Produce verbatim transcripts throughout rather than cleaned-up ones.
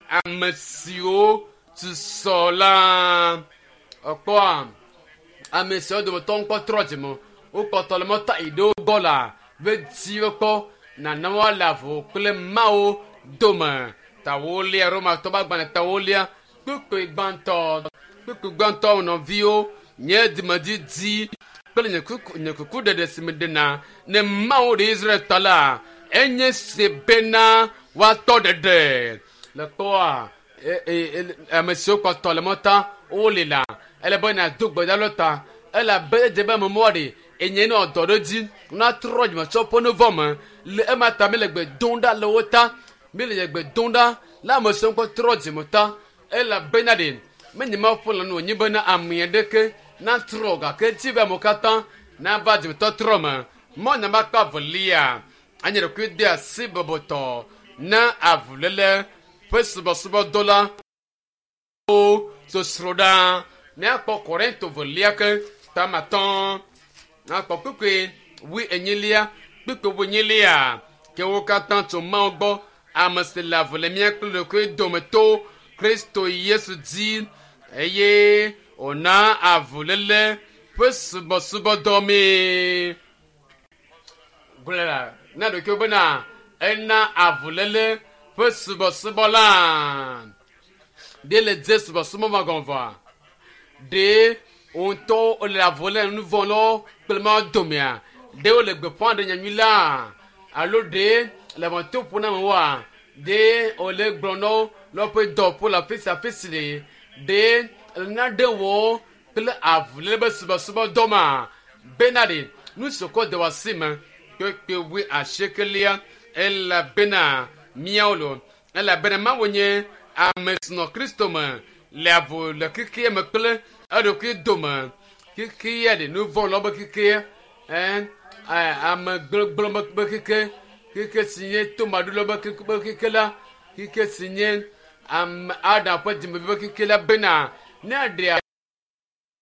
Ame siwo susɔ la ekpɔa ame siwo dometɔ ŋkpɔ trɔ dzime wokpɔtɔ le mɔta yi ɖewo gbɔ la veti wokpɔ nana woale avu kple Mawu dome. Tawolia Romatɔ ƒe agbalẽ tawolia kpukpui gbãtɔ kpukpui gbãtɔ nɔviwo nye dzimedidi kple nye kuku nye kukuɖeɖe si meɖena ne Mawu ɖe Israel ta la enye se bena woatɔ ɖeɖe le kpɔa e, e, e, ame siwo kpɔtɔ le mɔta wole la ele be nàdo gbe ɖa ɖe ta elabe edze be amemɔa ɖe enye nɔ dɔ ɖe dzi natrɔ dzimetsɔ ƒe nu vɔ me le ema ta mi le gbe dom ɖa le wo ta mi le gbe dom ɖa le ame siwo kpɔ trɔ dzime ta elabena ɖe menye Mawu ƒe lɔlɔ̃nu wònye bena ame aɖeke natrɔ gake dzi be amewo katã nava dzimetɔtrɔ me. Mɔ nyama akpa evelia anye ɖokui de asi bɔbɔtɔ na avuléle ƒe subɔsubɔdɔ la wo sosro ɖa. Míakpɔ Korinto velia ke tame atɔ̃ nakpɔ kpukpui wui enyilia kpukpui wui enyilia ke wo katã tso Mawu gbɔ ame si le avu le mía kple ɖokui dome to Kristo Yesu dzi eye wòna avuléle ƒe subɔsubɔdɔ mi. Gblɔ la na ɖokuiwo bena ena avuléle ƒe subɔsubɔ la. Ɖe le dze subɔsubɔ ma gɔme vɔa? Ɖe wo ŋutɔ le avu lé nu vɔ̃ lɔ kple Mawu domea? Ɖe wole gbeƒã ɖe nyanyui la? Alo ɖe le ʋɔtru ƒom na amewoa? Ɖe wole gblɔ na wo le woƒe dɔwɔƒewo le afi sia afi si le? Ɖe le nane wɔm kple avuléle be subɔsubɔdɔ ma? Bena ɖe nu si wokɔ de wò asi me kpekpe wui asiekelia elabena míawo lo elabena Mawu nye ame si nɔ Kristo me le avu le xexea me kple eɖokui dome. Xexea ɖe nu vɔ̃ lɔ be xexea ɛ ame gblegble be xexe xexe si nye tomaɖolɔ be xexe la xexe si nye ame Adam ƒe dzimevi be xexe la bena ne eɖe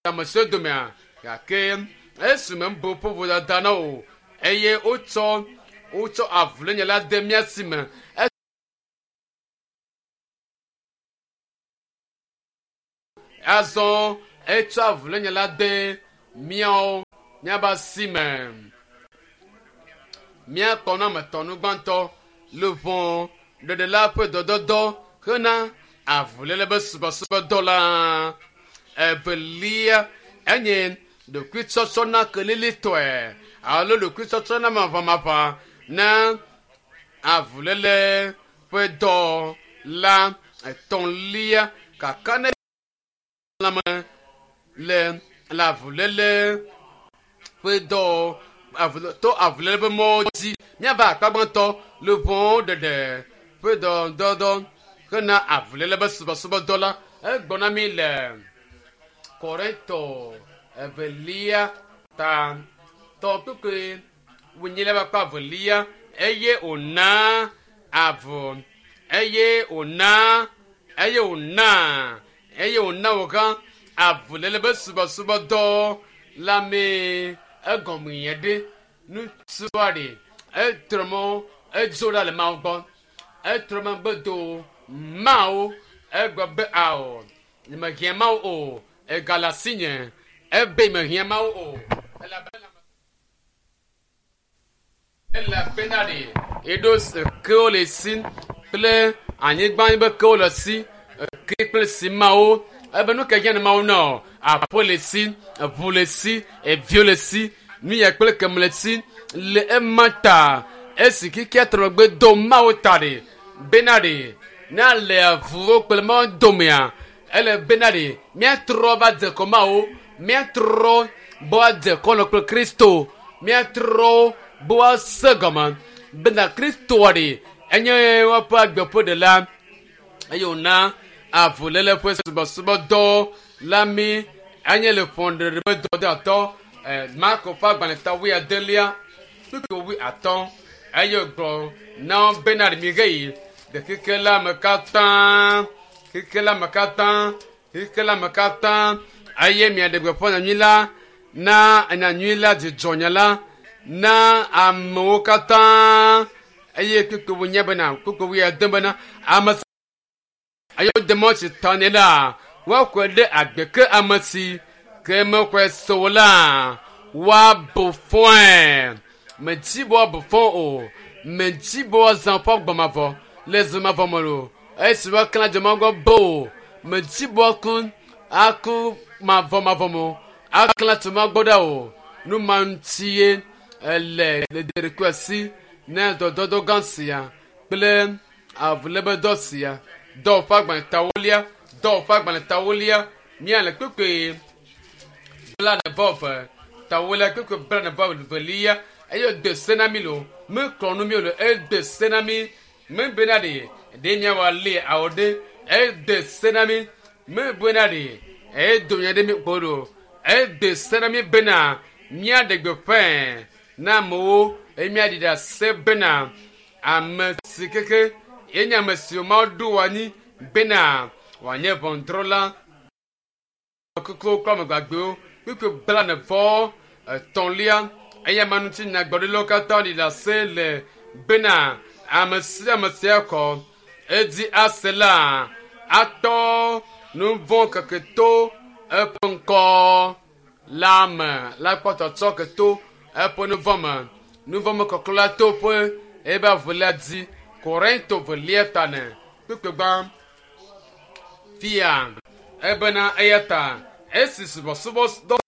ame siwo domea gake esime mebu woƒe vodada na o eye wotsɔ wotsɔ avulénya la de mía si me. Azɔ etsɔ avulénya la de míawo míaƒe asi me. Míakpɔ na ame etɔ̃ nu gbãtɔ luʋɔ ɖeɖe la ƒe dɔdɔdɔ hena avuléle be subɔsubɔdɔ la. Evelia enye ɖokuitsɔtsɔ na kelilitɔe alo ɖokuitsɔtsɔ na maʋamaʋã na avuléle ƒe dɔ la. Etɔ̃lia kaka ne lãme le le avuléle ƒe dɔ to avuléle ƒe mɔwo dzi. Míava akpa gbãtɔ luʋɔ ɖeɖe ƒe dɔdɔdɔ hena avuléle be subɔsubɔdɔ la. Egblɔ na mí le Korinto evelia ta tɔ kpukpui wunyilia ƒe akpa evelia eye wòna avu eye wòna eye wòna eye wòna wò gã avuléle be subɔsubɔdɔ la mee egɔme yɛ ɖe ŋutsua ɖe etrɔ mɔ edzo ɖa le Mawu gbɔ etrɔ megbe do Mawu egblɔ be ao nyemehiã Mawu o egale asinye ebe mehiã Mawu o elabena elabena ɖe eɖo kewo le si kple anyigba be kewo le si ke kple simawo ebe nu ke hiã ne Mawu na o aƒe le si eʋu le si eviwo le si nu ya kple keme le si le ema ta esi kikea trɔ megbe do Mawu ta ɖe bena ɖe ne ale avuwo kple Mawu domea ele bena ɖe míatrɔ va dze kɔ Mawu míatrɔ be woadze kɔlɔ kple Kristo míatrɔ be woase gɔme bena Kristoa ɖe enye woƒe agbe ƒe ɖela eye wòna avuléle ƒe subɔsubɔdɔ la mí enye le ƒɔnuɖeɖe ƒe dɔdeatɔ Marko ƒe agbalẽ ta wui adelia kpukpui wui atɔ̃ eye wògblɔ na wo bena ɖe miheyi ɖe xexe la me katã xexe la me katã xexe la me katã eye miaɖe gbeƒã nyanyui la na nyanyui la dzidzɔnya la na amewo katã eye kpukpui wui nye bena kpukpui wui ade bena ame Eye wode mɔ tsi ta nɛ la, woaxɔe ɖe agbe ke ame si ke mexɔe se o la, woabu fɔe. Medzi be woabu fɔ o. Medzi be woazã woƒe agbɔmavɔ le zɔmavɔ me o. Esi woaklã dzomavɔ be o. Medzi be woaku aku mavɔmavɔ me o. Aklã dzomavɔ ɖa o. Nu ma ŋuti ye ele le ɖeɖekui asi ne dɔdɔdɔ gã sia kple avulébedɔ sia. Dɔwɔƒe agbalẽtawolia, dɔwɔƒe agbalẽtawolia, míale kpekpe blaene vɔ eve, tawolia kpekpe blaene vɔ evelia eye wòde se na mí lo, meklɔ nu mí o lo, ede se na mí mebena ɖe ɖe míawɔ ali awɔ ɖe, ede se na mí mebena ɖe edo nya ɖe mí kpɔ ɖo, ede se na mí bena míaɖe gbeƒãe na amewo eye míaɖi ɖase bena ame si keke yenye ame si Mawu ɖo anyi bena wòanye ʋɔnudrɔ̃la kukuwo kple ame gbagbewo kpukpui blaene vɔ etɔ̃lia eya ma ŋuti nyagblɔɖilawo katã ɖi ɖase le bena ame sia ame sia xɔ edzi ase la atɔ nu vɔ̃ keke to eƒe ŋkɔ la me la kpɔ tɔtrɔ ke to eƒe nu vɔ̃ me nu vɔ̃ me kɔklɔ la to ƒe ebe avulia dzi Korinto velia ta ne kpukpui gbã fia ebena eya ta esi subɔsubɔdɔ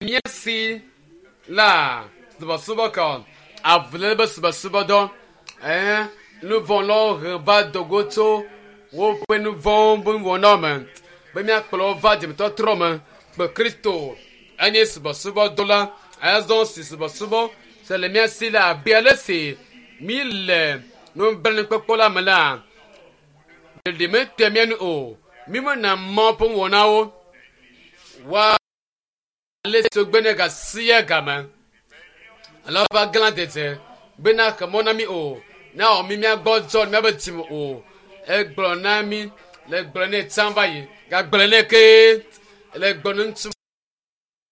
mía si la subɔsubɔ kɔ avuléle be subɔsubɔdɔ ɛɛ nuvɔ̃lawo he va dogo tso woƒe nuvɔ̃wo be nuwɔnawo me be míakplɔ wo va dzimetɔtrɔ me kpe Kristo enye subɔsubɔdɔ azɔ si subɔsubɔ si le mía si la abe ale si mí le nublanuikpɔkpɔ la me la ɖeɖi mete mía nu o mí mena mɔ ƒe nuwɔnawo woa ale si wogbe ne ga sia game alo woƒe aglã dzedze bena xe mɔ na mí o na wɔ mí míagbɔ dzɔ míabe dzime o egblɔ na mí le gblɔ nɛ tsã va yi gagblɔ nɛ ke le gblɔ ne ŋutsu